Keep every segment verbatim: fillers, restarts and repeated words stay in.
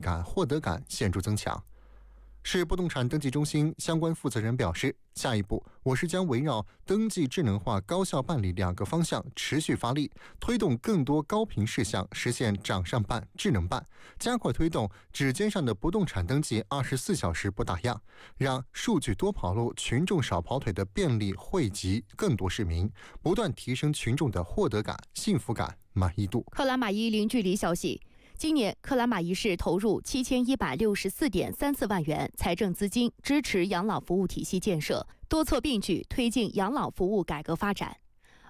感、获得感显著增强。市不动产登记中心相关负责人表示，下一步我市将围绕登记智能化、高效办理两个方向持续发力，推动更多高频事项实现掌上办、智能办，加快推动指尖上的不动产登记二十四小时不打烊，让数据多跑路、群众少跑腿的便利惠及更多市民，不断提升群众的获得感、幸福感、满意度。克拉玛依零距离消息。今年，克拉玛依市投入七千一百六十四点三四万元财政资金，支持养老服务体系建设，多措并举推进养老服务改革发展。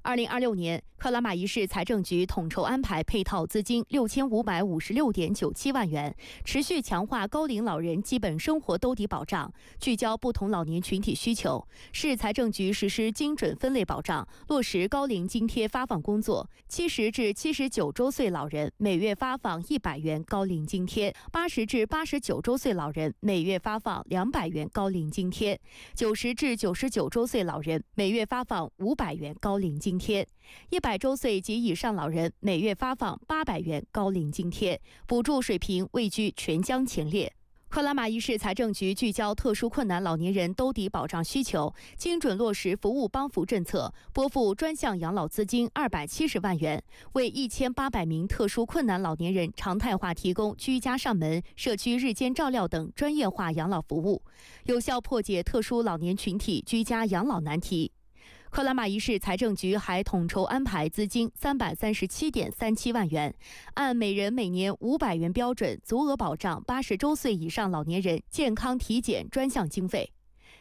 二零二六年，克拉玛依市财政局统筹安排配套资金六千五百五十六点九七万元，持续强化高龄老人基本生活兜底保障，聚焦不同老年群体需求。市财政局实施精准分类保障，落实高龄津贴发放工作。七十至七十九周岁老人每月发放一百元高龄津贴，八十至八十九周岁老人每月发放两百元高龄津贴，九十至九十九周岁老人每月发放五百元高龄津贴，一百周岁及以上老人每月发放八百元高龄津贴，补助水平位居全疆前列。克拉玛依市财政局聚焦特殊困难老年人兜底保障需求，精准落实服务帮扶政策，拨付专项养老资金二百七十万元，为一千八百名特殊困难老年人常态化提供居家上门、社区日间照料等专业化养老服务，有效破解特殊老年群体居家养老难题。克拉玛依市财政局还统筹安排资金三百三十七点三七万元，按每人每年五百元标准足额保障八十周岁以上老年人健康体检专项经费。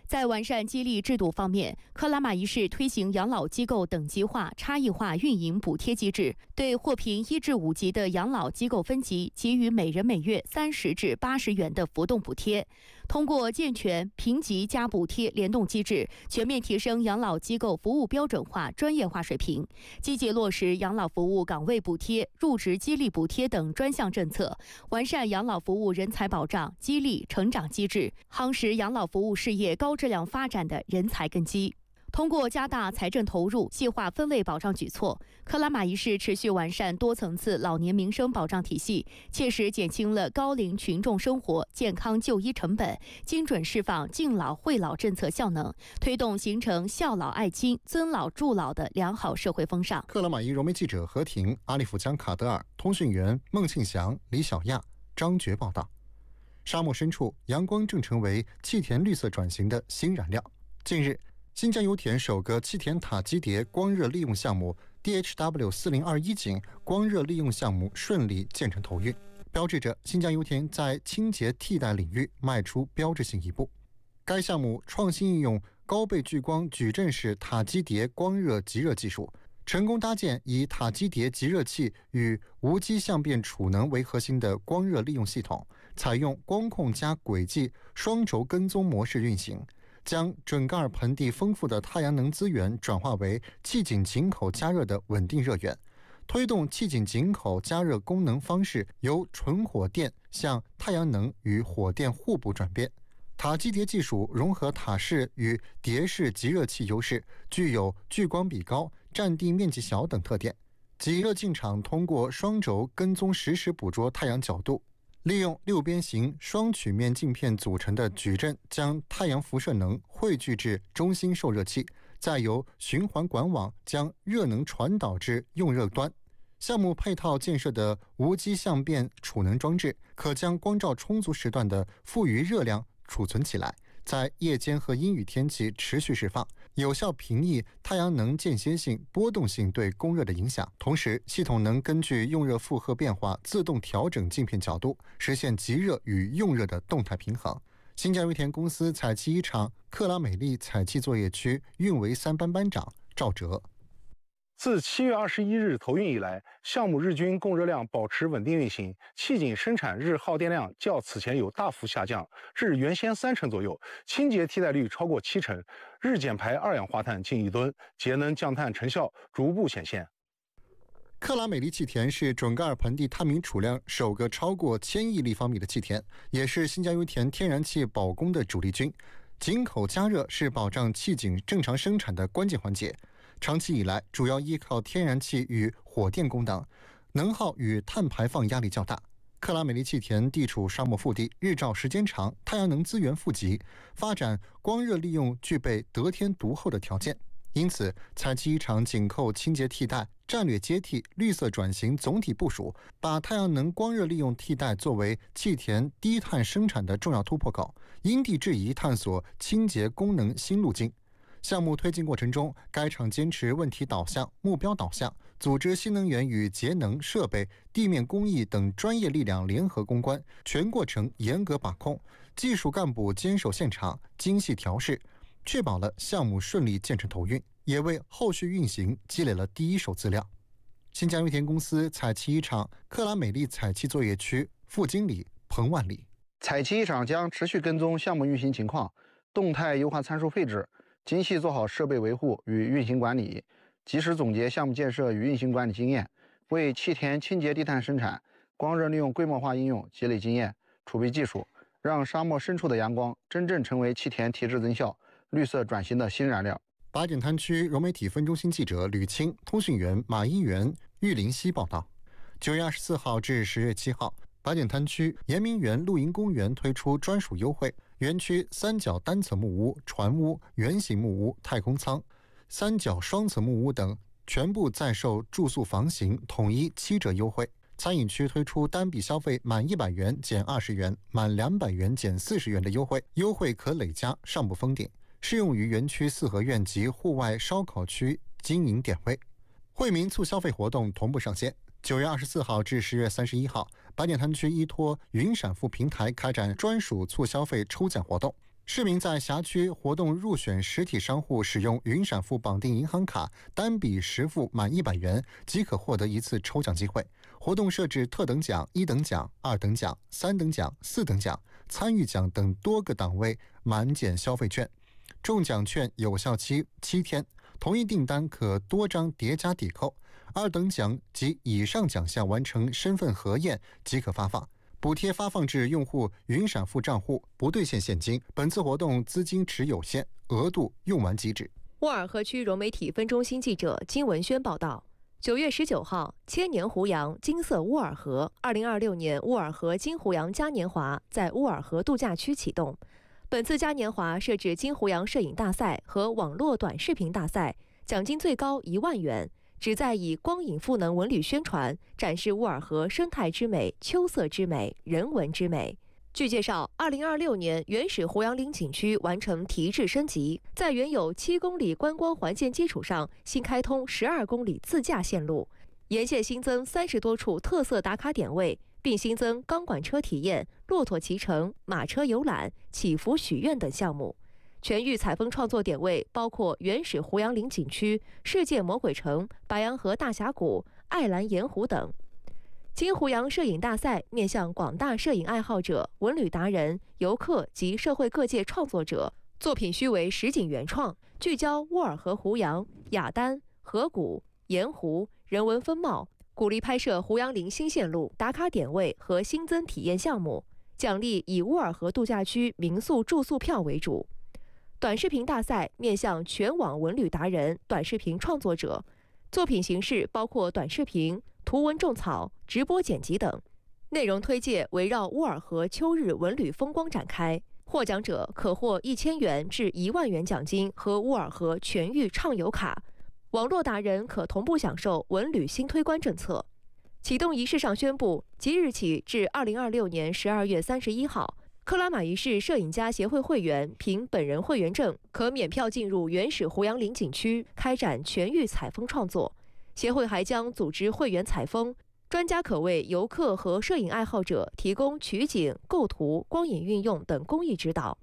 在完善激励制度方面，克拉玛依市推行养老机构等级化、差异化运营补贴机制，对获评一至五级的养老机构分级给予每人每月三十至八十元的浮动补贴。通过健全评级加补贴联动机制，全面提升养老机构服务标准化、专业化水平，积极落实养老服务岗位补贴、入职激励补贴等专项政策，完善养老服务人才保障、激励成长机制，夯实养老服务事业高质量发展的人才根基。通过加大财政投入、细化分类保障举措，克拉玛依市持续完善多层次老年民生保障体系，切实减轻了高龄群众生活、健康就医成本，精准释放敬老惠老政策效能，推动形成孝老爱亲、尊老助老的良好社会风尚。克拉玛依融媒记者何婷、阿利夫江卡德尔，通讯员孟庆祥、李小亚、张觉报道。沙漠深处，阳光正成为气田绿色转型的新燃料。近日，新疆油田首个气田塔基迭光热利用项目 D H W 四零二一井光热利用项目顺利建成投运，标志着新疆油田在清洁替代领域迈出标志性一步。该项目创新应用高倍聚光矩阵式塔基迭光热集热技术，成功搭建以塔基迭集热器与无机相变储能为核心的光热利用系统，采用光控加轨迹双轴跟踪模式运行，将准噶尔盆地丰富的太阳能资源转化为气井井口加热的稳定热源，推动气井井口加热功能方式由纯火电向太阳能与火电互补转变。塔基迭技术融合塔式与迭式集热器优势，具有聚光比高、占地面积小等特点。集热进场通过双轴跟踪实时捕捉太阳角度，利用六边形双曲面镜片组成的矩阵将太阳辐射能汇聚至中心受热器，再由循环管网将热能传导至用热端。项目配套建设的无机相变储能装置，可将光照充足时段的富余热量储存起来，在夜间和阴雨天气持续释放，有效平抑太阳能间歇性、波动性对供热的影响。同时，系统能根据用热负荷变化自动调整镜片角度，实现集热与用热的动态平衡。新疆油田公司采气一厂克拉美丽采气作业区运维三班班长赵哲。自七月二十一日投运以来，项目日均供热量保持稳定运行，气井生产日耗电量较此前有大幅下降，至原先三成左右，清洁替代率超过七成，日减排二氧化碳近一吨，节能降碳成效逐步显现。克拉美丽气田是准噶尔盆地探明储量首个超过千亿立方米的气田，也是新疆油田天然气保供的主力军。井口加热是保障气井正常生产的关键环节，长期以来主要依靠天然气与火电供能，能耗与碳排放压力较大。克拉美丽气田地处沙漠腹地，日照时间长，太阳能资源富集，发展光热利用具备得天独厚的条件。因此，彩旗一厂紧扣清洁替代、战略接替、绿色转型总体部署，把太阳能光热利用替代作为气田低碳生产的重要突破口，因地制宜探索清洁功能新路径。 项目推进过程中，该厂坚持问题导向、目标导向，组织新能源与节能设备、地面工艺等专业力量联合攻关，全过程严格把控，技术干部坚守现场，精细调试，确保了项目顺利建成投运，也为后续运行积累了第一手资料。新疆油田公司彩旗一厂克拉美丽彩旗作业区副经理彭万里。彩旗一厂将持续跟踪项目运行情况，动态优化参数配置，精细做好设备维护与运行管理，及时总结项目建设与运行管理经验，为气田清洁低碳生产、光热利用规模化应用积累经验、储备技术，让沙漠深处的阳光真正成为气田提质增效、绿色转型的新燃料。八景滩区融媒体分中心记者吕青、通讯员马一元、玉林西报道。九月二十四号至十月七号，八景滩区延明园露营公园推出专属优惠，园区三角单层木屋、船屋、圆形木屋、太空舱、三角双层木屋等全部在售住宿房型统一七折优惠。餐饮区推出单笔消费满一百元减二十元，满两百元减四十元的优惠，优惠可累加，尚不封顶，适用于园区四合院及户外烧烤区经营点位。惠民促消费活动同步上线。九月二十四号至十月三十一号，八景滩区依托云闪付平台开展专属促消费抽奖活动。市民在辖区活动入选实体商户使用云闪付绑定银行卡，单笔实付满一百元，即可获得一次抽奖机会。活动设置特等奖、一等奖、二等奖、三等奖、四等奖、参与奖等多个档位满减消费券。中奖券有效期七天，同一订单可多张叠加抵扣。二等奖及以上奖项完成身份核验即可发放。补贴发放至用户云闪付账户，不兑现现金。本次活动资金池有限，额度用完即止。乌尔河区融媒体分中心记者金文轩报道。九月十九号，千年胡杨金色乌尔河，二零二六年乌尔河金胡杨嘉年华在乌尔河度假区启动。本次嘉年华设置金胡杨摄影大赛和网络短视频大赛，奖金最高一万元，旨在以光影赋能文旅宣传，展示乌尔河生态之美、秋色之美、人文之美。据介绍，二零二六年原始胡杨林景区完成提质升级，在原有七公里观光环线基础上，新开通十二公里自驾线路，沿线新增三十多处特色打卡点位，并新增钢管车体验、骆驼骑乘、马车游览、祈福许愿等项目。全域采风创作点位包括原始胡杨林景区、世界魔鬼城、白杨河大峡谷、爱兰盐湖等。金胡杨摄影大赛面向广大摄影爱好者、文旅达人、游客及社会各界创作者，作品须为实景原创，聚焦乌尔河胡杨、雅丹、河谷、盐湖、人文风貌，鼓励拍摄胡杨林新线路、打卡点位和新增体验项目，奖励以乌尔河度假区民宿住宿票为主。短视频大赛面向全网文旅达人、短视频创作者，作品形式包括短视频、图文种草、直播剪辑等。内容推介围绕乌尔河秋日文旅风光展开。获奖者可获一千元至一万元奖金和乌尔河全域畅游卡。网络达人可同步享受文旅新推关政策。启动仪式上宣布，即日起至二零二六年十二月三十一号，克拉玛依市摄影家协会会员凭本人会员证，可免票进入原始胡杨林景区开展全域采风创作。协会还将组织会员采风，专家可为游客和摄影爱好者提供取景、构图、光影运用等工艺指导。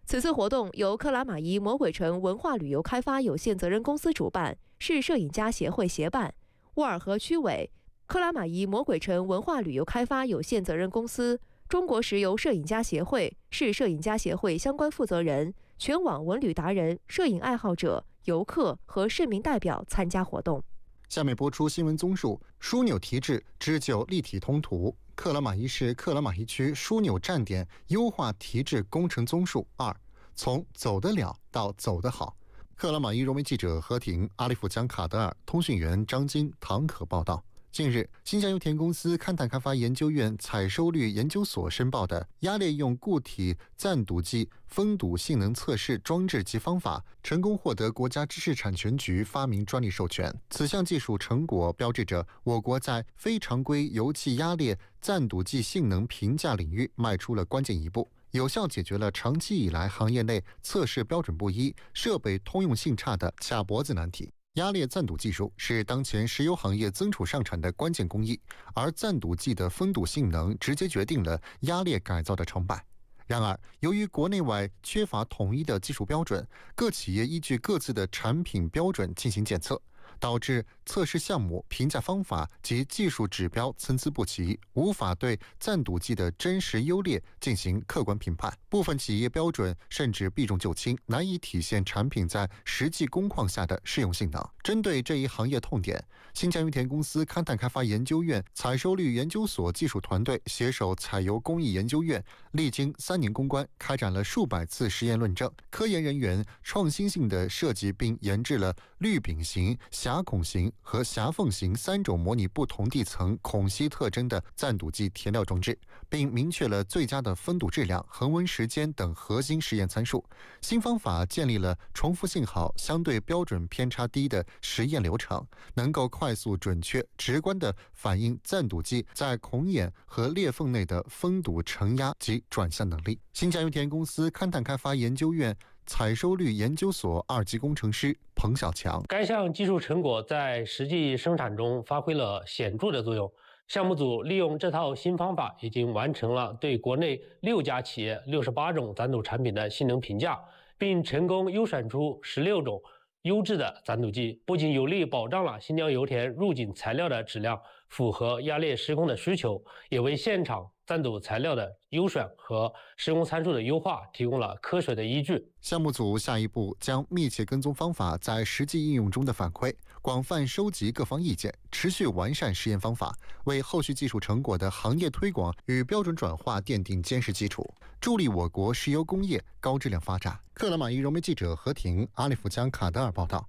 此次活动由克拉玛依魔鬼城文化旅游开发有限责任公司主办，市摄影家协会协办。乌尔河区委、克拉玛依魔鬼城文化旅游开发有限责任公司、中国石油摄影家协会、市摄影家协会相关负责人、全网文旅达人、摄影爱好者、游客和市民代表参加活动。下面播出新闻综述：枢纽提质，织就立体通途。克拉玛依市克拉玛依区枢纽站点优化提质工程综述二，从走得了到走得好。克拉玛依融媒记者何婷、阿利夫江卡德尔，通讯员张金、唐可报道。近日，新疆油田公司勘探开发研究院采收率研究所申报的压裂用固体暂赌计封堵性能测试装置及方法，成功获得国家知识产权局发明专利授权。此项技术成果标志着我国在非常规油气压裂暂赌计性能评价领域迈出了关键一步，有效解决了长期以来行业内测试标准不一、设备通用性差的卡脖子难题。压裂暂赌技术是当前石油行业增储上产的关键工艺，而暂赌计的封堵性能直接决定了压裂改造的成败。然而，由于国内外缺乏统一的技术标准，各企业依据各自的产品标准进行检测，导致测试项目、评价方法及技术指标参差不齐，无法对暂赌计的真实优劣进行客观评判。部分企业标准甚至避重就轻，难以体现产品在实际工况下的适用性能。针对这一行业痛点，新疆油田公司勘探开发研究院采收率研究所技术团队携手采油工艺研究院，历经三年攻关，开展了数百次实验论证。科研人员创新性的设计并研制了滤饼型、狭孔型和狭缝型三种模拟不同地层孔隙特征的暂赌计填料装置，并明确了最佳的封堵质量、恒温时间等核心实验参数。新方法建立了重复性好、相对标准偏差低的实验流程，能够快速、准确、直观地反映暂赌计在孔眼和裂缝内的封堵、承压及转向能力。新疆油田公司勘探开发研究院采收率研究所二级工程师彭小强。该项技术成果在实际生产中发挥了显著的作用。项目组利用这套新方法，已经完成了对国内六家企业六十八种暂赌产品的性能评价，并成功优选出十六种优质的暂赌计，不仅有力保障了新疆油田入井材料的质量，符合压裂施工的需求，也为现场暂赌材料的优选和施工参数的优化提供了科学的依据。项目组下一步将密切跟踪方法在实际应用中的反馈，广泛收集各方意见，持续完善实验方法，为后续技术成果的行业推广与标准转化奠定坚实基础，助力我国石油工业高质量发展。克拉玛依荣媒记者何婷、阿里夫江卡德尔报道。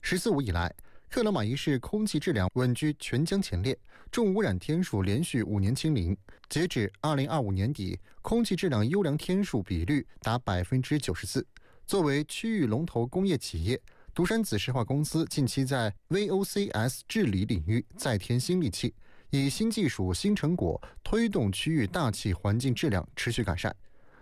十四五以来，克拉玛依市空气质量稳居全疆前列，重污染天数连续五年清零。截至二零二五年底，空气质量优良天数比率达百分之九十四。作为区域龙头工业企业，独山子石化公司近期在 V O C S 治理领域再添新利器，以新技术、新成果推动区域大气环境质量持续改善。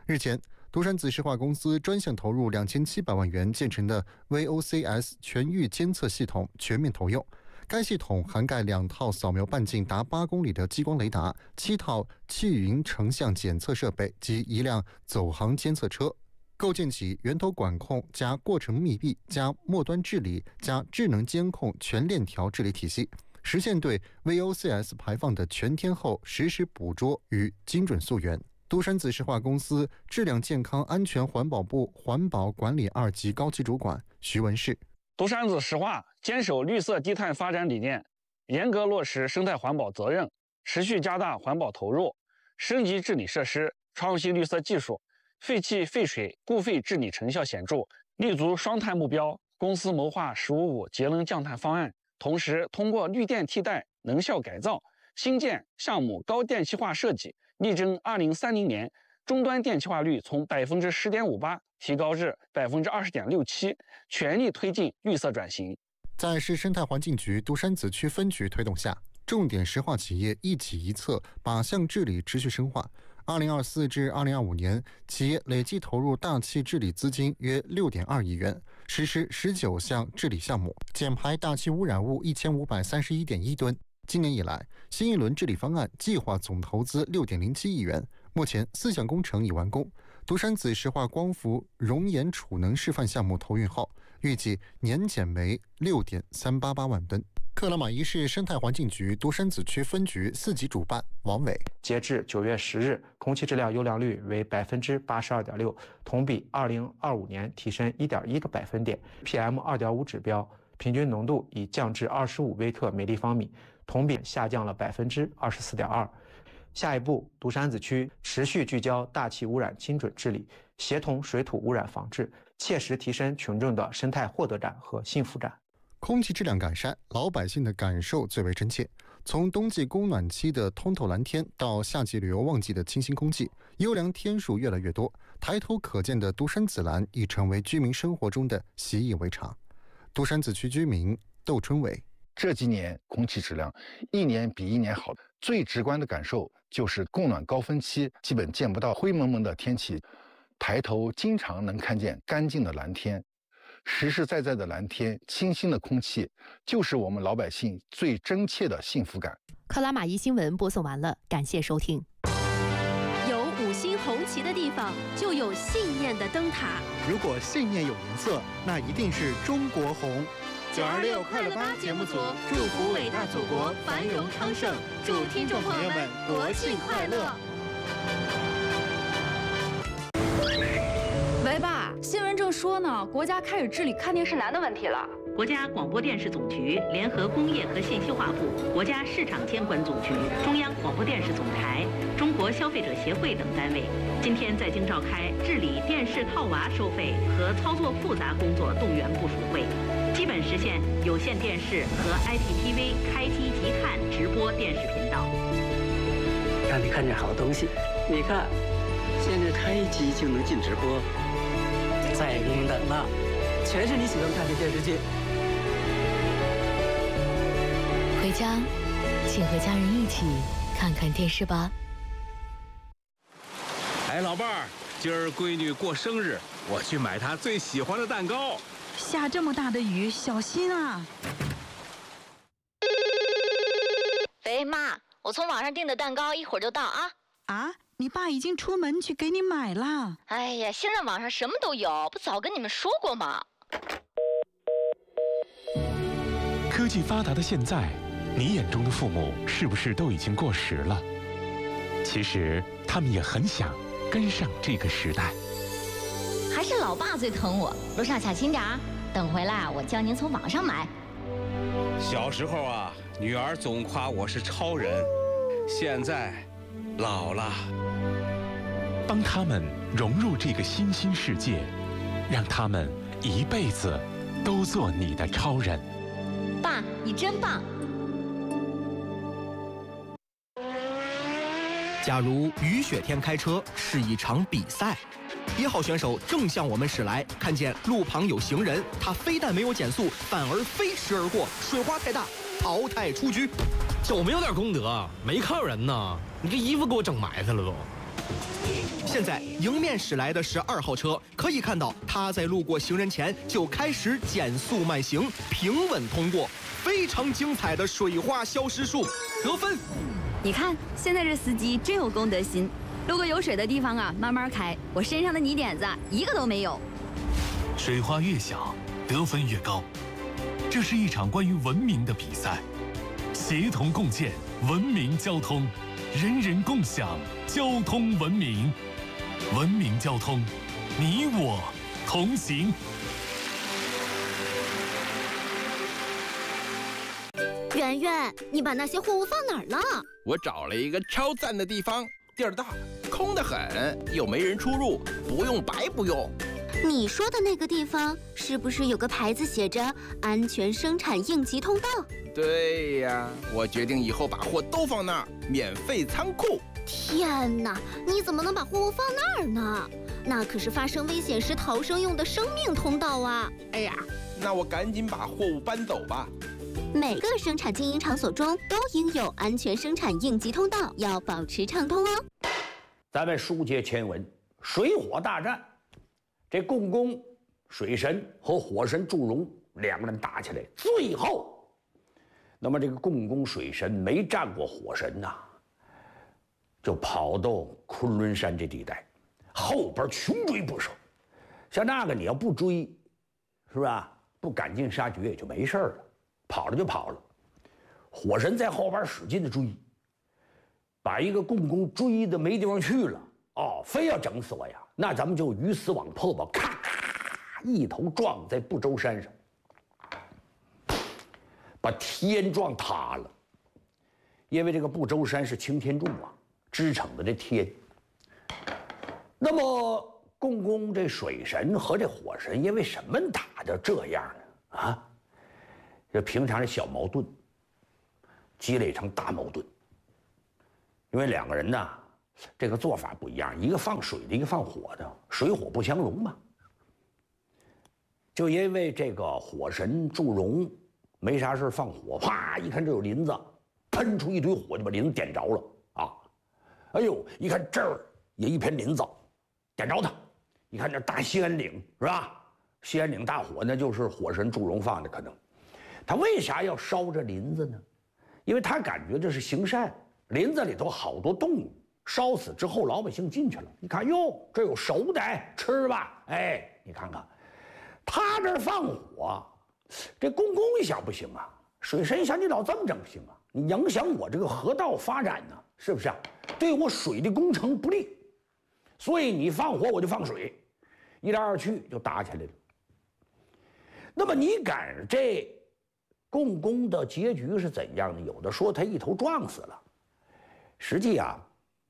日前，独山子石化公司专项投入两千七百万元建成的 V O C S 全域监测系统全面投用。该系统涵盖两套扫描半径达八公里的激光雷达、七套气云成像检测设备及一辆走航监测车。构建起源头管控加过程密闭加末端治理加智能监控全链条治理体系，实现对 V O C S 排放的全天候实时捕捉与精准溯源。独山子石化公司质量健康安全环保部环保管理二级高级主管徐文世。独山子石化坚守绿色低碳发展理念，严格落实生态环保责任，持续加大环保投入，升级治理设施，创新绿色技术，废气废水固废治理成效显著，立足双碳目标。公司谋划十五五节能降碳方案，同时通过绿电替代、能效改造、新建项目高电气化设计，力争二零三零年终端电气化率从百分之十点五八提高至百分之二十点六七，全力推进绿色转型。在市生态环境局独山子区分局推动下，重点石化企业一企一策，靶向治理持续深化。二零二四至二零二五年，企业累计投入大气治理资金约六点二亿元，实施十九项治理项目，减排大气污染物一千五百三十一点一吨。今年以来，新一轮治理方案计划总投资六点零七亿元，目前四项工程已完工。独山子石化光伏熔岩储能示范项目投运后，预计年减煤六点三八八万吨。克拉玛依市生态环境局独山子区分局四级主办王伟。截至九月十日，空气质量优良率为百分之八十二点六，同比二零二五年提升一点一个百分点。P M 二点五指标平均浓度已降至二十五微克每立方米，同比下降了百分之二十四点二。下一步，独山子区持续聚焦大气污染精准治理，协同水土污染防治，切实提升群众的生态获得感和幸福感。空气质量改善，老百姓的感受最为真切。从冬季供暖期的通透蓝天到夏季旅游旺季的清新空气，优良天数越来越多，抬头可见的独山紫蓝已成为居民生活中的习以为常。独山子区居民窦春伟。这几年空气质量一年比一年好，最直观的感受就是供暖高峰期基本见不到灰蒙蒙的天气，抬头经常能看见干净的蓝天。实实在在的蓝天，清新的空气，就是我们老百姓最真切的幸福感。克拉玛依新闻播送完了，感谢收听。有五星红旗的地方，就有信念的灯塔。如果信念有颜色，那一定是中国红。九二六快乐吧节目组祝福伟大祖国繁荣昌盛，祝听众朋友们国庆快乐。喂，爸，新闻正说呢，国家开始治理看电视难的问题了。国家广播电视总局联合工业和信息化部、国家市场监管总局、中央广播电视总台、中国消费者协会等单位，今天在京召开治理电视套娃收费和操作复杂工作动员部署会，基本实现有线电视和I P T V开机即看直播电视频道。让你看见好东西。你看，现在开机就能进直播，再也不用等了，全是你喜欢看的电视剧。回家，请和家人一起看看电视吧。哎，老伴儿，今儿闺女过生日，我去买她最喜欢的蛋糕。下这么大的雨，小心啊！喂，妈，我从网上订的蛋糕一会儿就到啊。啊，你爸已经出门去给你买了。哎呀，现在网上什么都有，不早跟你们说过吗？科技发达的现在，你眼中的父母是不是都已经过时了？其实他们也很想跟上这个时代。还是老爸最疼我，路上小心点儿，等回来我叫您从网上买。小时候啊，女儿总夸我是超人，现在老了。帮他们融入这个新兴世界，让他们一辈子都做你的超人。爸，你真棒！假如雨雪天开车是一场比赛，一号选手正向我们驶来，看见路旁有行人，他非但没有减速，反而飞驰而过，水花太大，淘汰出局。小没有点功德，没看人呢，你这衣服给我整埋汰了都。现在迎面驶来的是二号车，可以看到他在路过行人前就开始减速慢行，平稳通过。非常精彩的水花消失术，得分。你看，现在这司机真有公德心，路过有水的地方啊，慢慢开，我身上的泥点子一个都没有。水花越小，得分越高。这是一场关于文明的比赛，协同共建文明交通，人人共享交通文明。文明交通，你我同行。圆圆，你把那些货物放哪儿了？我找了一个超赞的地方，地儿大，空得很，又没人出入，不用白不用。你说的那个地方是不是有个牌子写着“安全生产应急通道”？对呀，我决定以后把货都放那儿，免费仓库。天哪，你怎么能把货物放那儿呢？那可是发生危险时逃生用的生命通道啊！哎呀，那我赶紧把货物搬走吧。每个生产经营场所中都应有安全生产应急通道，要保持畅通哦。咱们书接前文，水火大战，这共工、水神和火神祝融两个人打起来，最后，那么这个共工水神没战过火神呐，就跑到昆仑山这地带，后边穷追不舍。像那个你要不追，是吧？不赶尽杀绝也就没事了，跑了就跑了。火神在后边使劲的追，把一个共工追的没地方去了。哦，非要整死我呀？那咱们就鱼死网破吧！咔咔一头撞在不周山上，把天撞塌了。因为这个不周山是擎天柱啊，支撑着这天。那么共工这水神和这火神因为什么打成这样呢？啊，这平常是小矛盾，积累成大矛盾。因为两个人呢，这个做法不一样，一个放水的，一个放火的，水火不相容嘛。就因为这个火神祝融没啥事放火，啪一看这有林子，喷出一堆火就把林子点着了啊！哎呦，一看这儿也一片林子，点着它。一看这大兴安岭是吧？兴安岭大火那就是火神祝融放的，可能他为啥要烧这林子呢？因为他感觉这是行善，林子里头好多动物，烧死之后老百姓进去了，你看哟，这有熟的，哎，吃吧，哎，你看看，他这放火，这共工一想不行啊，水神一想你老这么整不行啊，你影响我这个河道发展呢，是不是啊？对我水的工程不利，所以你放火我就放水，一来二去就打起来了。那么你赶上这共工的结局是怎样呢？有的说他一头撞死了，实际啊，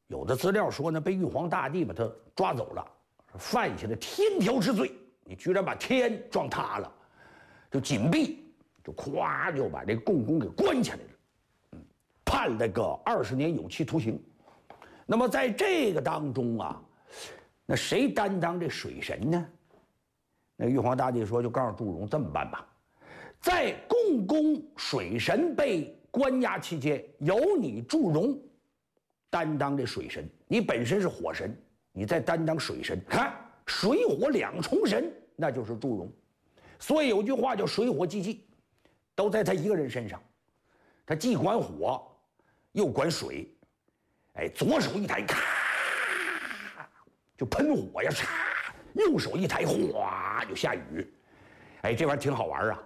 有的资料说呢，被玉皇大帝把他抓走了，犯下了天条之罪。你居然把天撞塌了，就紧闭，就咵就把这共工给关起来了，判了个二十年有期徒刑。那么在这个当中啊，那谁担当这水神呢？那玉皇大帝说，就告诉祝融这么办吧，在共工水神被关押期间，由你祝融担当这水神，你本身是火神，你再担当水神，看水火两重神，那就是祝融。所以有句话叫水火既济，都在他一个人身上，他既管火，又管水。哎，左手一抬，咔，就喷火呀，嚓；右手一抬，哗，就下雨。哎，这玩意儿挺好玩啊。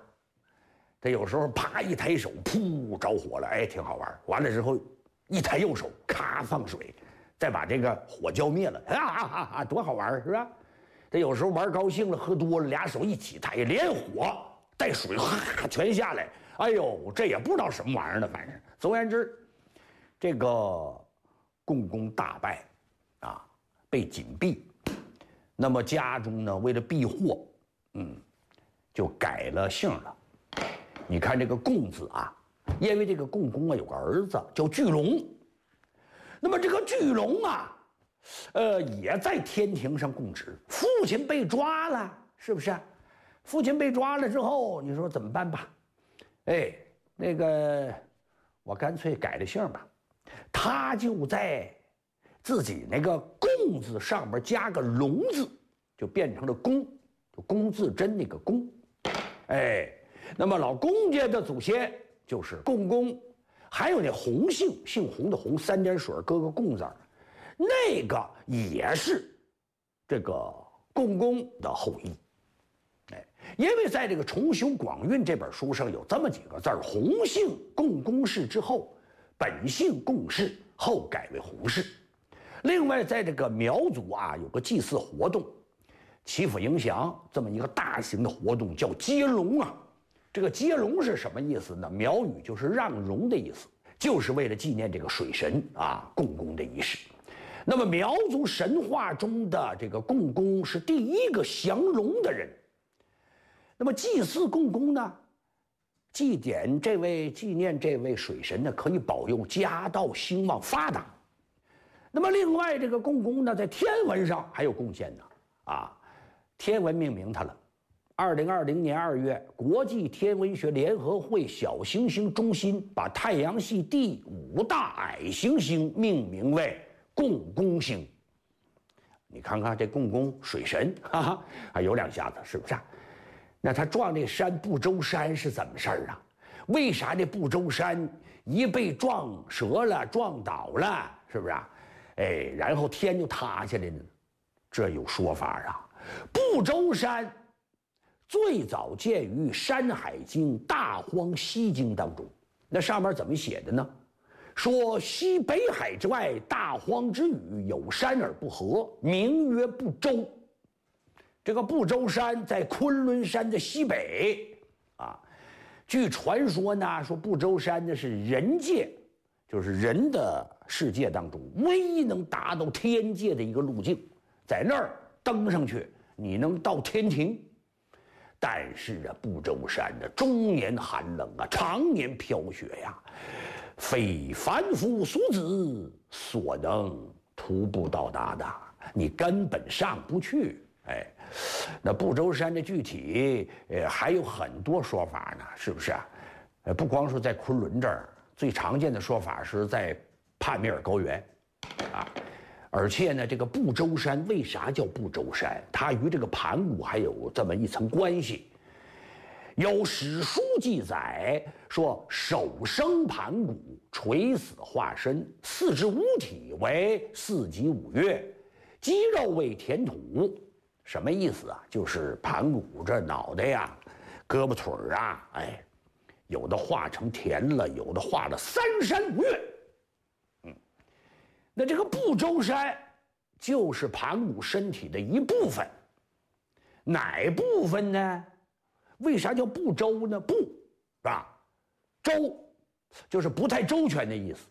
他有时候啪一抬手，噗，着火了，哎，挺好玩。完了之后，一抬右手，咔，放水，再把这个火浇灭了，哈哈哈哈，多好玩，是吧？他有时候玩高兴了，喝多了，俩手一起抬，连火带水，哈，全下来。哎呦，这也不知道什么玩意儿呢。反正总而言之，这个共工大败啊，被紧闭。那么家中呢，为了避祸，嗯，就改了姓了。你看这个共字啊，因为这个共工啊有个儿子叫巨龙，那么这个巨龙啊，呃，也在天庭上供职。父亲被抓了，是不是？父亲被抓了之后，你说怎么办吧？哎，那个我干脆改了姓吧。他就在自己那个共字上面加个龙字，就变成了公，就龚自珍那个龚。哎，那么老龚家的祖先就是共工，还有那洪姓，姓洪的洪，三点水搁个共字儿，那个也是这个共工的后裔。哎，因为在这个《重修广韵》这本书上有这么几个字儿：洪姓共工氏之后，本姓共氏，后改为洪氏。另外，在这个苗族啊，有个祭祀活动，祈福迎祥这么一个大型的活动，叫接龙啊。这个接龙是什么意思呢？苗语就是让龙的意思，就是为了纪念这个水神啊，共工的仪式。那么苗族神话中的这个共工是第一个降龙的人。那么祭祀共工呢，祭奠这位，纪念这位水神呢，可以保佑家道兴旺发达。那么另外，这个共工呢，在天文上还有贡献呢。啊，天文命名他了。二零二零年二月，国际天文学联合会小行星中心把太阳系第五大矮行星命名为共工星。你看看这共工水神，哈哈，还有两下子，是不是啊？那他撞这山不周山是怎么事儿啊？为啥这不周山一被撞折了、撞倒了，是不是啊？哎，然后天就塌下来呢？这有说法啊。不周山最早见于《山海经·大荒西经》当中，那上面怎么写的呢？说西北海之外，大荒之宇，有山而不合，名曰不周。这个不周山在昆仑山的西北啊。据传说呢，说不周山呢是人界，就是人的世界当中唯一能达到天界的一个路径，在那儿登上去，你能到天庭。但是啊，不周山呢，终年寒冷啊，常年飘雪呀，非凡夫俗子所能徒步到达的，你根本上不去。哎，那不周山的具体，呃，还有很多说法呢，是不是啊？呃，不光说在昆仑这儿，最常见的说法是在帕米尔高原，啊，而且呢，这个不周山为啥叫不周山？它与这个盘古还有这么一层关系。有史书记载说，首生盘古，垂死化身，四肢五体为四极五岳，肌肉为填土。什么意思啊？就是盘古这脑袋呀、胳膊腿儿啊，哎，有的化成田了，有的化了三山五岳。嗯，那这个不周山就是盘古身体的一部分。哪部分呢？为啥叫不周呢？不，是吧？周就是不太周全的意思，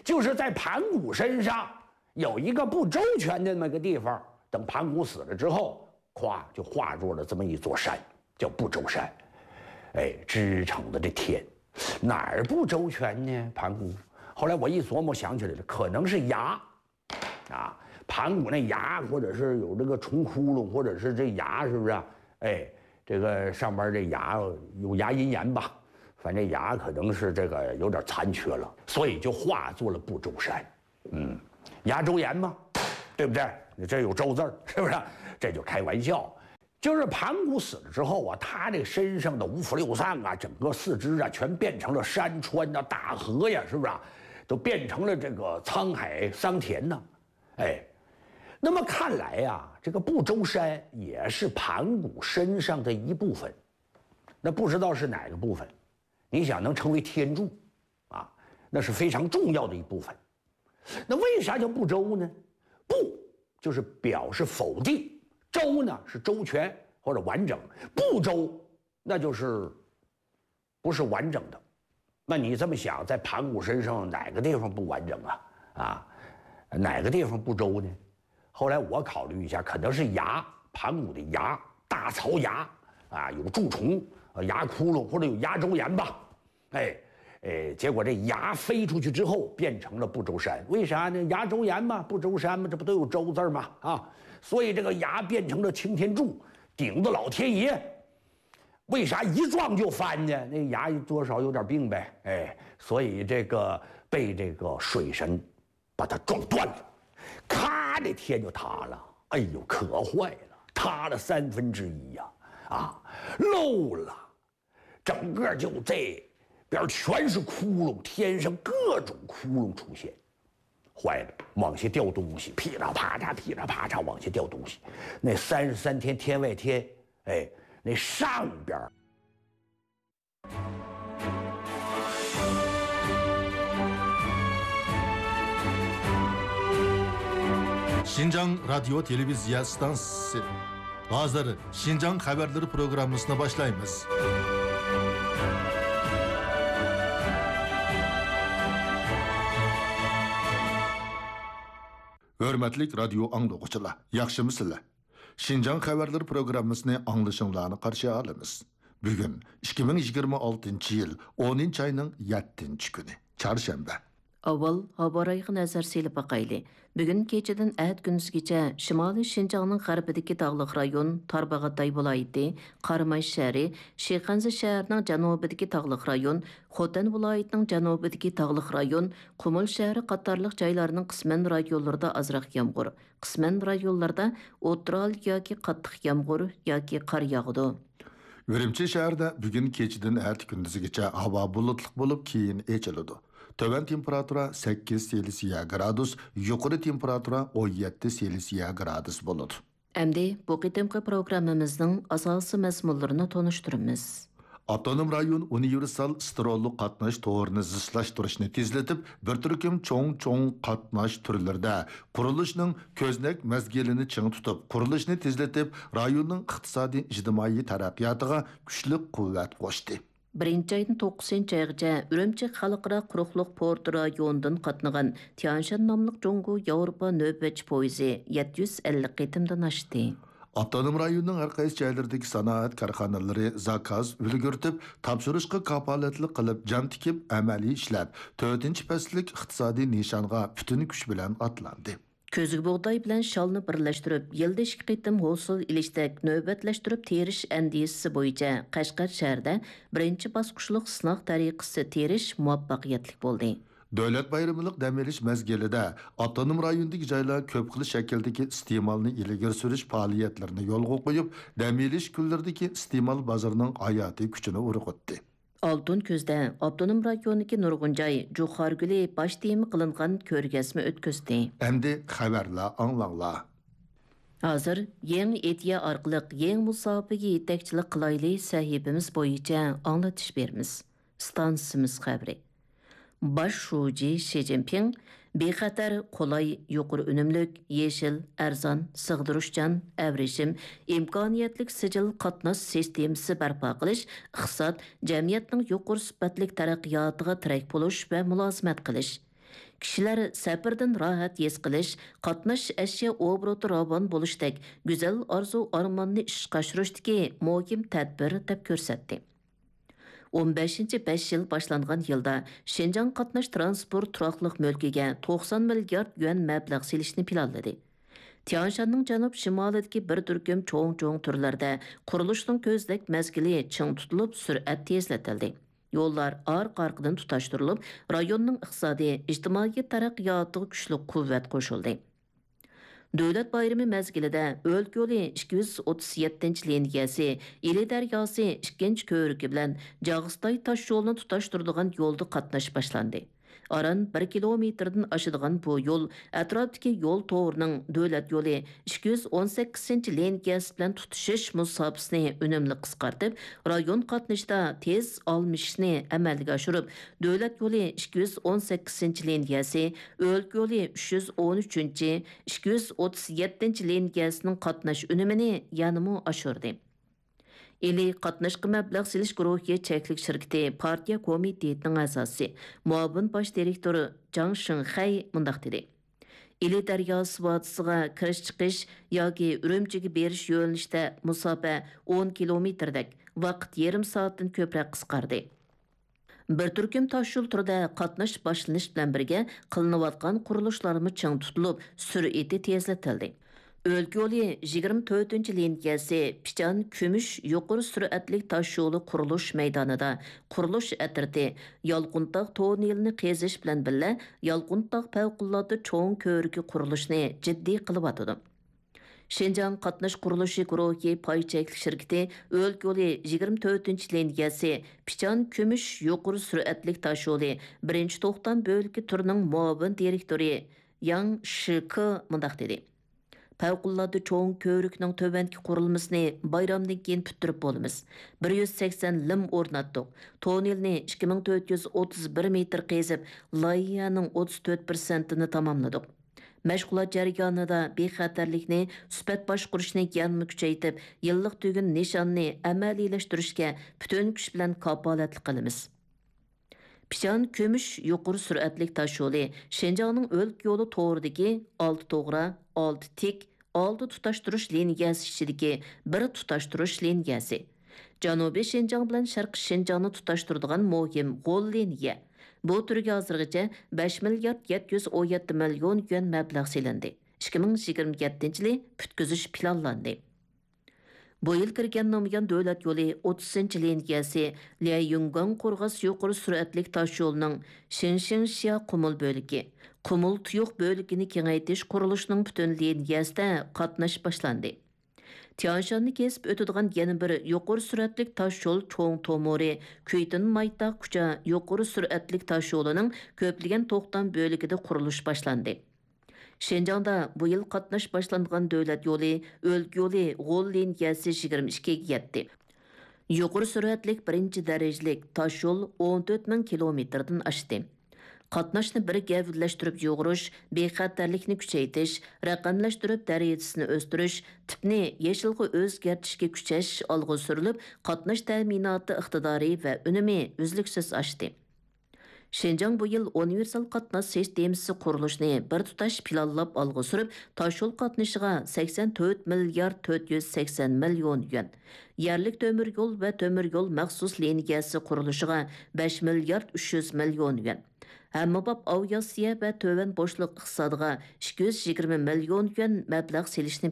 就是在盘古身上有一个不周全的那么个地方。等盘古死了之后，咵就化作了这么一座山，叫不周山。哎，支撑着这天，哪儿不周全呢？盘古。后来我一琢磨，想起来了，可能是牙。啊，盘古那牙，或者是有这个虫窟窿，或者是这牙，是不是啊？哎，这个上边这牙有牙龈炎吧，反正牙可能是这个有点残缺了，所以就化作了不周山。嗯，牙周炎嘛，对不对？这有周字儿，是不是？这就开玩笑。就是盘古死了之后啊，他这身上的五腑六脏啊，整个四肢啊，全变成了山川呐、大河呀，是不是啊？都变成了这个沧海桑田呐。哎，那么看来呀，这个不周山也是盘古身上的一部分。那不知道是哪个部分？你想能成为天柱啊，那是非常重要的一部分。那为啥叫不周呢？不就是表示否定，周呢是周全或者完整，不周那就是不是完整的。那你这么想，在盘古身上哪个地方不完整啊？啊，哪个地方不周呢？后来我考虑一下，可能是牙，盘古的牙，大槽牙啊，有蛀虫、呃牙窟窿或者有牙周炎吧。哎，哎，结果这牙飞出去之后，变成了不周山。为啥呢？牙周炎嘛，不周山嘛，这不都有周字儿吗？啊，所以这个牙变成了擎天柱，顶着老天爷。为啥一撞就翻呢？那牙多少有点病呗，哎，所以这个被这个水神把它撞断了，咔，这天就塌了。哎呦，可坏了，塌了三分之一呀！啊，漏了，整个就这边全是窟窿，天上各种窟窿出现。坏了，往下掉东西，噼里啪嚓，噼里啪嚓往下掉东西。那三十三天天外天，哎，那上边儿 شىنجاڭ رادىيو تېلېۋىزىيە ئىستانسىسى. ھازىر شىنجاڭ خەۋەرلىرى پروگراممىسىنى باشلايمىز. ھۆرمەتلىك رادىيو ئاڭلىغۇچىلار، ياخشىمۇسىلەر؟ شىنجاڭ خەۋەرلىرى پروگراممىسىنى ئاڭلىشىڭلارنى قارشى ئالىمىز. بۈگۈن ئىككى مىڭ يىگىرمە ئالتىنچى يىل ئونىنچى ئاينىڭ يەتتىنچى كۈنى، چارشەنبە. ئاۋۋال ھاۋا رايىغا نەزەر سېلىپ باقايلى. بۈگۈن كېچىدىن ئەتە كۈندۈزگىچە شىمالىي شىنجاڭنىڭ غەربىدىكى تاغلىق رايون، تارباغاتاي ۋىلايىتى، قاراماي شەھىرى، شىخەنزە شەھىرىنىڭ جەنۇبىدىكى تاغلىق رايون، خوتەن ۋىلايىتىنىڭ جەنۇبىدىكى تاغلىق رايون، قۇمۇل شەھىرى قاتارلىق جايلارنىڭ قىسمەن رايونلىرىدا ئازراق يامغۇر، قىسمەن رايونلاردا ئوتتۇرا ھالدا ياكى قاتتىق يامغۇر ياكى قار ياغىدۇ. ئۈرۈمچى شەھىرىدە بۈگۈن كېچىدىن ئەتە كۈندۈزگىچە ھاۋا بۇلۇتلۇق بولۇپ، كېيىن ئېچىلىدۇ. تۆۋەن تېمپېراتۇرا سەككىز سېلسىيە گرادۇس، يۇقىرى تېمپېراتۇرا ئون يەتتە سېلسىيە گرادۇس بولىدۇ. ئەمدى بۇ قېتىمقى پروگراممىمىزنىڭ ئاساسىي مەزمۇنلىرىنى تونۇشتۇرىمىز. ئاپتونوم رايون ئۇنىۋېرسال ستېرېئولۇق قاتناش تورىنى زىچلاشتۇرۇشنى تېزلىتىپ، بىر تۈركۈم چوڭ-چوڭ قاتناش تۈرلىرىدە قۇرۇلۇشنىڭ كۆزنەك مەزگىلىنى چىڭ تۇتۇپ، قۇرۇلۇشنى تېزلىتىپ، رايوننىڭ ئىقتىسادىي ئىجتىمائىي تەرەققىياتىغا كۈچلۈك قۇۋۋەت قوشتى. بىرىنچى ئايدىن توققۇزىنچى ئايغىچە ئۈرۈمچى خەلقئارا قۇرۇقلۇق پورتى رايونىدىن قاتنىغان تيەنشان ناملىق جۇڭگو ياۋروپا نۆۋەتچى پويىزى يەتتە يۈز ئەللىك قېتىمدىن ئاشتى. ئاپتونوم رايوننىڭ ھەر قايسى جايلىرىدىكى سانائەت كارخانىلىرى زاكاز ئۈلگۈرتۈپ، تاپشۇرۇشقا كاپالەتلىك قىلىپ، جان تىكىپ، ئەمەلىي ئىشلەپ، تۆتىنچى پەسىللىك ئىقتىسادىي نىشانغا پۈتۈن كۈچ بىلەن ئاتلاندى. كۆزگە بۇغداي بىلەن شالنى بىرلەشتۈرۈپ، يىلدا ئىككى قېتىم ھوسۇل ئېلىشتەك نۆۋەتلەشتۈرۈپ تېرىش ئەندىزىسى بويىچە قەشقەر شەھىرىدە بىرىنچى باسقۇچلۇق سىناق تەرىقىسى تېرىش مۇۋەپپەقىيەتلىك بولدى. دۆلەت بايرىملىق دەم ئېلىش مەزگىلىدە ئاپتونوم رايوندىكى جايلار كۆپ خىل شەكىلدىكى ئىستېمالنى ئىلگىرى سۈرۈش پائالىيەتلىرىنى يولغا قويۇپ، دەم ئېلىش كۈنلىرىدىكى ئىستېمال بازىرىنىڭ ھاياتىي كۈچىنى ئۇرغۇتتى. ئالتۇن كۈزدە ئاپتونوم رايوندىكى نۇرغۇن جاي جۇخارگۈلى باش تېما قىلىنغان كۆرگەزمە ئۆتكۈزدى. ئەمدى خەۋەرلەر ئاڭلاڭلار. ھازىر يېڭى ئىدىيە ئارقىلىق يېڭى مۇساپىگە يېتەكچىلىك قىلايلى سەھىپىمىز بويىچە ئاڭلىتىش بېرىمىز. ئىستانسىمىز خەۋىرى. باش شۇجى شى جىنپىڭ بىخەتەر، قولاي، يۇقىرى ئۈنۈملۈك، يېشىل، ئەرزان، سىغدۇرۇشچان، ئەۋرىشىم، ئىمكانىيەتلىك سىجىل قاتناش سىستېمىسى بەرپا قىلىش، ئىقتىساد، جەمئىيەتنىڭ يۇقىرى سۈپەتلىك تەرەققىياتىغا تىرەك بولۇش ۋە مۇلازىمەت قىلىش. كىشىلەر سەپىرىدىن راھەت ھېس قىلىش، قاتناش ئەشيا ئوبوروتى راۋان بولۇشتەك گۈزەل ئارزۇ ئارماننى ئىشقا ئاشۇرۇشتىكى مۇھىم تەدبىر دەپ كۆرسەتتى. ئون بەشىنچى بەش يىل باشلانغان يىلدا شىنجاڭ قاتناش تىرانسپورت تۇراقلىق مۈلكىگە توقسان مىليارد يۈەن مەبلەغ سېلىشنى پىلانلىدى. تيەنشاننىڭ جەنۇب شىمالىدىكى بىر تۈركۈم چوڭ-چوڭ تۈرلەردە قۇرۇلۇشنىڭ كۆزنەك مەزگىلى چىڭ تۇتۇلۇپ، سۈرئەت تېزلىتىلدى. يوللار ئارقا-ئارقىدىن تۇتاشتۇرۇلۇپ، رايوننىڭ ئىقتىسادىي، ئىجتىمائىي تەرەققىياتىغا كۈچلۈك قۇۋۋەت قوشۇلدى. دۆلەت بايرىمى مەزگىلىدە ئۆلكە يولى ئىككى يۈز ئوتتۇز يەتتىنچى لىنىيەسى، ئىلى دەرياسى ئىككىنچى كۆۋرۈكى بىلەن جاغىستاي تاشيولىنى تۇتاشتۇرىدىغان يولدا قاتناش باشلاندى. ئاران بىر كىلومېتىردىن ئاشىدىغان بۇ يول ئەتراپتىكى يول تورىنىڭ دۆلەت يولى ئىككى يۈز ئون سەككىزىنچى لىنىيەسى بىلەن تۇتىشىش مۇساپىسىنى ئۈنۈملۈك قىسقارتىپ، رايون قاتنىشىدا تېز ئالمىشىشنى ئەمەلگە ئاشۇرۇپ، دۆلەت يولى ئىككى يۈز ئون سەككىزىنچى لىنىيەسى، ئۆلكە يولى ئۈچ يۈز ئون ئۈچىنچى، ئىككى يۈز ئوتتۇز يەتتىنچى لىنىيەسىنىڭ قاتناش ئۈنۈمىنى يەنىمۇ ئاشۇردى. ئىلى قاتناشقا مەبلەغ سېلىش گۇرۇھى چەكلىك شىركىتى پارتىيە كومىتېتىنىڭ ئەزاسى، مۇئاۋىن باش دىرېكتورى جاڭ شىڭخەي مۇنداق دېدى: ئىلى دەرياسى ۋادىسىغا كىرىش-چىقىش ياكى ئۈرۈمچىگە بېرىش يۆنىلىشىدە مۇساپە ئون كىلومېتىردەك، ۋاقىت يېرىم سائەتتىن كۆپرەك قىسقاردى. بىر تۈركۈم تاشيول تۈرىدە قاتناش باشلىنىش بىلەن بىرگە، قىلىنىۋاتقان قۇرۇلۇشلارمۇ چىڭ تۇتۇلۇپ، سۈرئىتى تېزلىتىلدى. ئۆلكە يولى يىگىرمە تۆتىنچى لىنىيەسى پىچان كۈمۈش يۇقىرى سۈرئەتلىك تاشيولى قۇرۇلۇش مەيدانىدا قۇرۇلۇش ئەترىتى يالقۇنتاغ توننېلىنى قېزىش بىلەن بىللە، يالقۇنتاغ پەۋقۇلئاددە چوڭ كۆۋرۈكى قۇرۇلۇشىنى جىددىي قىلىۋاتىدۇ. شىنجاڭ قاتناش قۇرۇلۇشى گۇرۇھى پاي چەكلىك شىركىتى ئۆلكە يولى يىگىرمە تۆتىنچى لىنىيەسى پىچان كۈمۈش يۇقىرى سۈرئەتلىك تاشيولى بىرىنچى توختام بۆلىكى تۈرىنىڭ مۇئاۋىن دىرېكتورى ياڭ شىكې مۇنداق دېدى: پەۋقۇلئاددە چوڭ كۆۋرۈكنىڭ تۆۋەنكى قۇرۇلمىسىنى بايرامدىن كېيىن پۈتتۈرۈپ بولىمىز. بىر يۈز سەكسەن لىم ئورناتتۇق. توننېلنى ئىككى مىڭ تۆت يۈز ئوتتۇز بىر مېتىر قېزىپ، لايىھەنىڭ ئوتتۇز تۆت پىرسەنتىنى تاماملىدۇق. مەشغۇلات جەريانىدا بىخەتەرلىكنى، سۈپەت باشقۇرۇشنى يەنىمۇ كۈچەيتىپ، يىللىق تۈگۈن نىشاننى ئەمەلىيلەشتۈرۈشكە پۈتۈن كۈچ بىلەن كاپالەتلىك قىلىمىز. پىچان كۈمۈش يۇقىرى سۈرئەتلىك تاشيولى شىنجاڭنىڭ ئۆلكە يولى تورىدىكى ئالتە توغرا، ئالتە تىك، ئالتە تۇتاشتۇرۇش لىنىيەسى ئىچىدىكى بىر تۇتاشتۇرۇش لىنىيەسى. جەنۇبىي شىنجاڭ بىلەن شەرقىي شىنجاڭنى تۇتاشتۇرىدىغان مۇھىم غول لىنىيە. بۇ تۈرگە ھازىرغىچە بەش مىليارد يەتتە يۈز ئون يەتتە مىليون يۈەن مەبلەغ سېلىندى. ئىككى مىڭ يىگىرمە يەتتىنچى يىلى پۈتكۈزۈش پىلانلاندى. بۇ يىل كىرگەن نامىيان دۆلەت يولى ئوتتۇزىنچى لىنىيەسى ليەيۈنگاڭ قورغاس يۇقىرى سۈرئەتلىك تاشيولىنىڭ شىنشىڭشيا قۇمۇل بۆلىكى، قۇمۇل تۇيۇق بۆلىكىنى كېڭەيتىش قۇرۇلۇشىنىڭ پۈتۈن لىنىيەسىدە قاتناش باشلاندى. تيانشاننى كېسىپ ئۆتىدىغان يەنە بىر يۇقىرى سۈرئەتلىك تاشيول چوڭ تومۇرى كۈيتىن مايتاغ كۇچا يۇقىرى سۈرئەتلىك تاشيولىنىڭ كۆپلىگەن توختام بۆلىكىدە قۇرۇلۇش باشلاندى. شىنجاڭدا بۇ يىل قاتناش باشلانغان دۆلەت يولى، ئۆلكە يولى غول لىنىيەسى يىگىرمە ئىككىگە يەتتى. يۇقىرى سۈرئەتلىك بىرىنچى دەرىجىلىك تاشيول ئون تۆت مىڭ كىلومېتىردىن ئاشتى. قاتناشنى بىر گەۋدىلەشتۈرۈپ يۇغۇرۇش، بىخەتەرلىكنى كۈچەيتىش، رەقەملەشتۈرۈپ دەرىجىسىنى ئۆستۈرۈش، تىپنى يېشىلغا ئۆزگەرتىشكە كۈچەش ئالغا سۈرۈلۈپ، قاتناش تەمىناتى ئىقتىدارى ۋە ئۈنۈمى ئۈزلۈكسىز ئاشتى. شىنجاڭ بۇ يىل ئۇنىۋېرسال قاتناش سىستېمىسى قۇرۇلۇشىنى بىر تۇتاش پىلانلاپ ئالغا سۈرۈپ، تاشيول قاتنىشىغا سەكسەن تۆت مىليارد تۆت يۈز سەكسەن مىليون يۈەن، يەرلىك تۆمۈر يول ۋە تۆمۈر يول مەخسۇس لىنىيەسى قۇرۇلۇشىغا بەش مىليارد ئۈچ يۈز مىليون يۈەن، ھەممىباب ئاۋىئاتسىيە ۋە تۆۋەن بوشلۇق ئىقتىسادىغا ئىككى يۈز يىگىرمە مىليون يۈەن مەبلەغ سېلىشنى